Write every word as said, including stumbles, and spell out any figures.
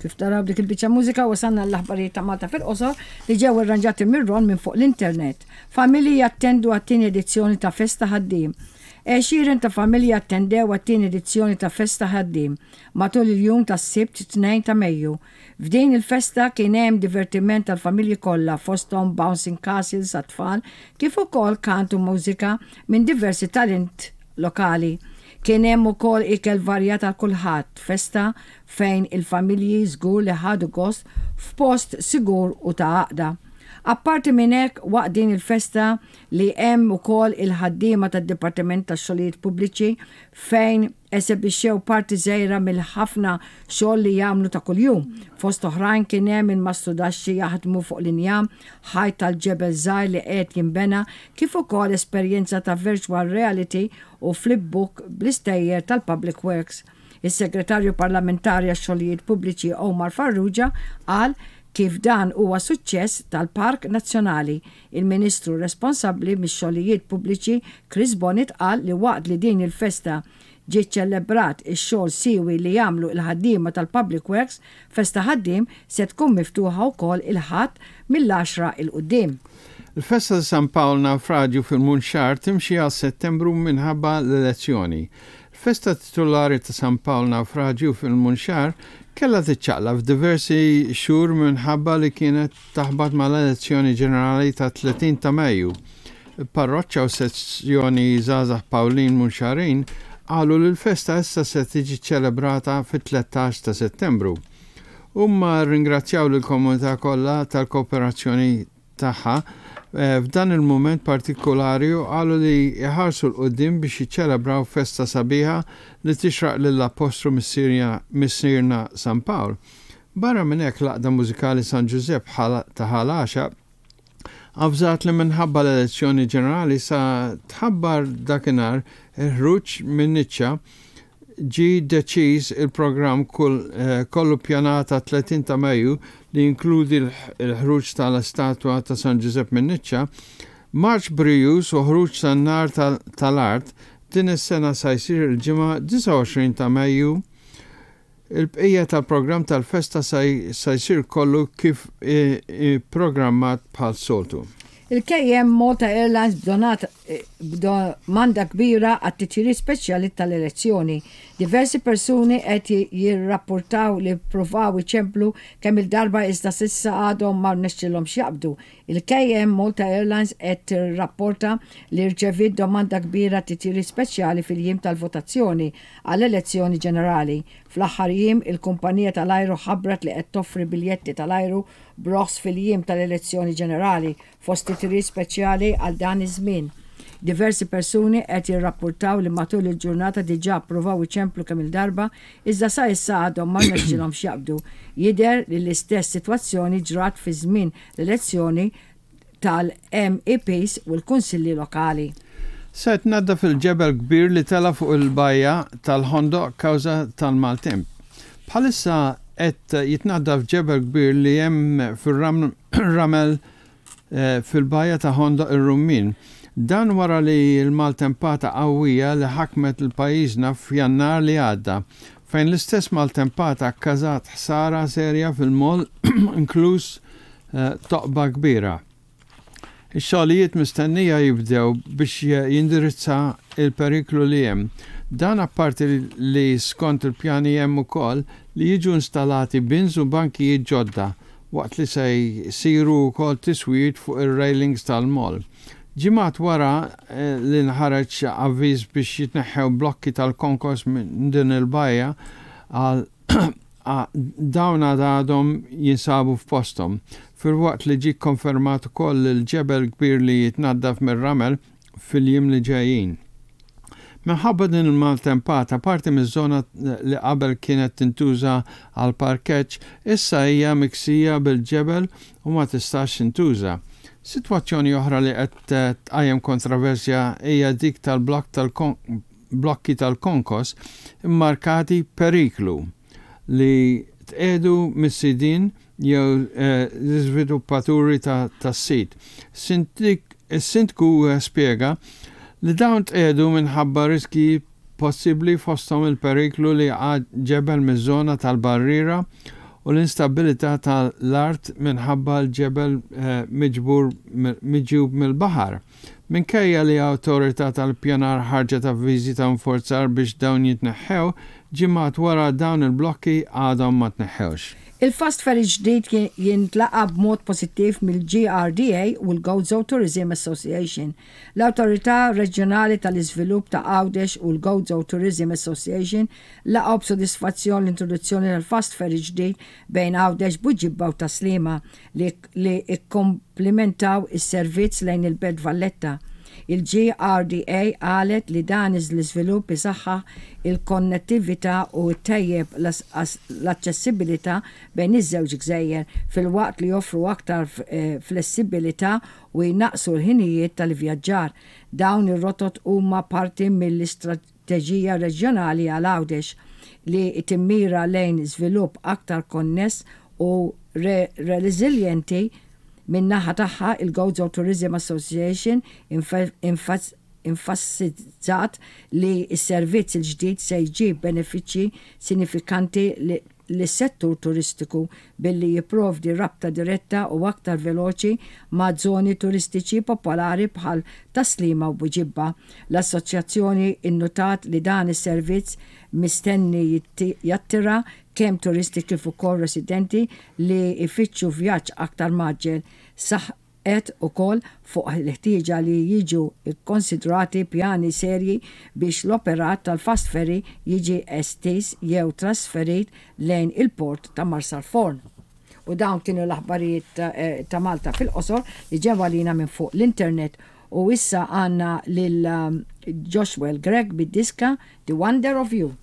Kif taraw dik il-biċċa mużika, wasalna l-aħbarijiet ta' Malta fil-qosor li ġew irranġati mir-Ron minn fuq l-internet. Familji jattendu għat-tieni edizzjoni ta' Festa Ħaddiem. Għexieren ta' familji attendew għat-tieni edizzjoni ta' Festa Ħaddiem matul il-jum tas-Sibt tnejn ta' Mejju. F'din il-festa kien hemm divertiment tal-familji kollha, fosthom bouncing castles għat-tfal, kif ukoll kant u mużika minn diversi talent lokali. Kien hemm ukoll ikel varjat għal kulħadd, festa fejn il-familji żgur li ħadu gost f'post sigur u ta' għaqda. Apparti minn hekk, waqt din il-festa li hemm ukoll il-ħaddiema tad-Dipartiment tax-Xogħlijiet Pubbliċi fejn esebixxew parti żgħira mill-ħafna xogħol li jagħmlu ta' kuljum. Fost oħrajn kien hemm il-mastrudaxxi jaħdmu fuq l-injam, ħajt tal-ġebel żgħir li qed jinbena, kif ukoll esperjenza ta' virtual reality u flipbook bl-istejjer tal-Public Works. Is-Segretarju Parlamentari għax-Xogħlijiet Pubbliċi Omar Farrugia qal kif dan huwa suċċess tal-Park Nazzjonali. Il-Ministru responsabbli mix-xogħlijiet pubbliċi Chris Bonett qal li waqt li din il-festa ġie ċelebrat ix-xogħol siwi li jagħmlu il-ħaddiema tal-Public Works, Festa Ħaddiem se tkun miftuħa wkoll il-Ħadd mill-għaxra 'l quddiem. Il-festa ta' San Pawl Naufraġju fil-Munxar timxi għal Settembru minħabba l-elezzjoni. Il-festa titulari ta' San Pawl Naufraġju fil-Munxar kella tiċċaqlaq f'diversi xhur minħabba li kienet taħbat mal-elezzjoni ġenerali ta' tletin ta' Mejju. Il-parroċċa u sezzjoni Żgħażagħ Pawlin Munxarin qalu li l-festa issa se tiġi ċelebrata fit-tlettax ta' Settembru. Huma ringrazzjaw lill-komunità kollha tal-kooperazzjoni tagħha eh, f'dan il-mument partikolari u qalu li jħarsu 'l quddiem biex jiċċelebraw festa sabiħa li tixraq lill-Apostlu Missierna San Pawl. Barra minn hekk, l-Għaqda Mużikali San Giuseppe ta' Ħal Għaxaq avżat li minħabba l-elezzjoni ġenerali sa tħabbar dakinhar il-ħruġ minn niċċa ġi deċiż il-programm eh, kollu pjanata tletin ta' Mejju li jinkludi l-ħruġ tal-istatwa ta' San Giuseppe minn niċċa, marċ brijuż u ħruġ tan-nar tal-art, din is-sena sa jsir il-Ġimgħa disgħa u għoxrin ta' Mejju. Il-bqija tal-programm tal-festa sa jsir kollu kif programmat bħal soltu. Il-K M Malta Airlines b'donat b'domanda kbira għat-titjiriet speċjali tal-elezzjoni. Diversi persuni qed jirrapportaw li provaw iċemplu kemm il-darba iżda s'issa għadhom ma rnexxilhomx jaqbdu. Il-K M Malta Airlines qed tirrapporta li rċeviet domanda kbira titjiriet speċjali fil-jiem tal-votazzjoni għall-elezzjoni ġenerali. Fl-aħħar jiem, il-kumpanija tal-ajru ħabbret li qed toffri biljetti tal-ajru b'roħs fil-jiem tal-elezzjoni ġenerali, fost titjiriet speċjali għal dan iż-żmien. Diversi persuni qed jirrapportaw li matul il-ġurnata diġà provaw iċemplu kemm il-darba iżda sa issa għadhom ma rnexxilhomx jaqbdu. Jidher li l-istess sitwazzjoni ġrat fi żmien l-elezzjoni tal-M E Ps u l-kunsilli lokali. Se tnaddaf il-ġebel kbir li tela fuq il-bajja tal-Ħondoq kawża tal-maltemp. Bħalissa qed jitnaddaf ġebel kbir li hemm fir-ramel eh, fil-bajja ta' Ħondoq ir-Rummin. Dan wara li l-maltempata qawwija li ħakmet il-pajjiżna f'Jannar li għadda, fejn l-istess maltempata kkażat ħsara serja fil-moll, inkluż eh, toqba kbira. Ix-xogħlijiet mistennija jibdew biex jindirizza il-periklu li hemm. Dan apparti li skont il-pjani hemm ukoll li jiġu installati bins u bankijiet ġodda, waqt li se jsiru wkoll tiswijiet fuq ir-railings tal-moll. Ġimgħat wara eh, li nħareġ avviż biex jitneħħew blokki tal-konkos minn din il-bajja għal dawn għadhom jinsabu f'posthom. Filwaqt li ġi konfermat ukoll il-ġebel kbir li jitnaddaf mir-ramel fil-jiem li ġejjin. Minħabba din il-maltempata, parti miż-żona li qabel kienet tintuża għal parkeġġ issa hija miksija bil-ġebel u ma tistax tintuża. Sitwazzjoni oħra li qed tqajjem kontroversja hija dik tal-blokk tal-blokki tal-konkos immarkati periklu li tqiegħdu mis-sidin jew eh, l-iżviluppaturi tas-sit. Is-sindku spjega li dawn tqiegħdu minħabba riski possibbli, fosthom il-periklu li ġebel miż-żona tal-barriera u l-instabilità tal-art minħabba l-ġebel eh, miġbur miġjub mill-baħar. Minkejja li awtorità tal-pjanar ħarġet avviżi ta' nforzar biex dawn jitneħħew, ġimgħat wara dawn il-blokki għadhom ma tneħħewx. Il-fast ferry ġdid jintlaqa b'mod pożittiv mill-G R D A u l-Gozo Tourism Association. L-Awtorità Reġjonali tal-Iżvilupp ta' Għawdex u l-Gozo Tourism Association laqgħu b'sodisfazzjon l-introduzzjoni tal-fast ferry ġdid bejn Għawdex, Buġibba u Tas-Sliema li, li ikkomplementaw is-servizz lejn il-Belt Valletta. Il-G R D A qalet li dan l-iżvilupp isaħħaħ il-konnettività u ttejjeb l-aċċessibilità bejn iż-żewġ gżejjer, filwaqt li joffru aktar eh, flessibilità u jnaqsu l-ħinijiet tal-vjaġġar. Dawn ir-rotot huma parti mill-istrateġija reġjonali għal Għawdex li timmira lejn żvilupp aktar konness u reżiljenti. Min-naħa tagħha, il-Gozo Tourism Association enfasizzat li s-servizz il-ġdid se jġib benefiċċji sinifikanti lis-settur turistiku billi jipprovdi rabta diretta u aktar veloċi ma' żoni turistiċi popolari bħal Tas-Sliema u Buġibba. L-assoċjazzjoni innotat li dan is-servizz mistenni jattira kemm turisti kif ukoll residenti li jfittxu vjaġġ aktar mgħaġġel. Saħqet ukoll fuq l-ħtieġa li jiġu kkonsidrati pjani serji biex l-operat tal-fast ferry jiġi estiż jew trasferit lejn il-port ta' Marsalforn. U dawn kienu l-aħbarijiet ta' eh, ta' Malta fil-qosor li ġew għalina minn fuq l-internet, u issa għandna lil um, Joshua Greg bid-diska The Wonder of You.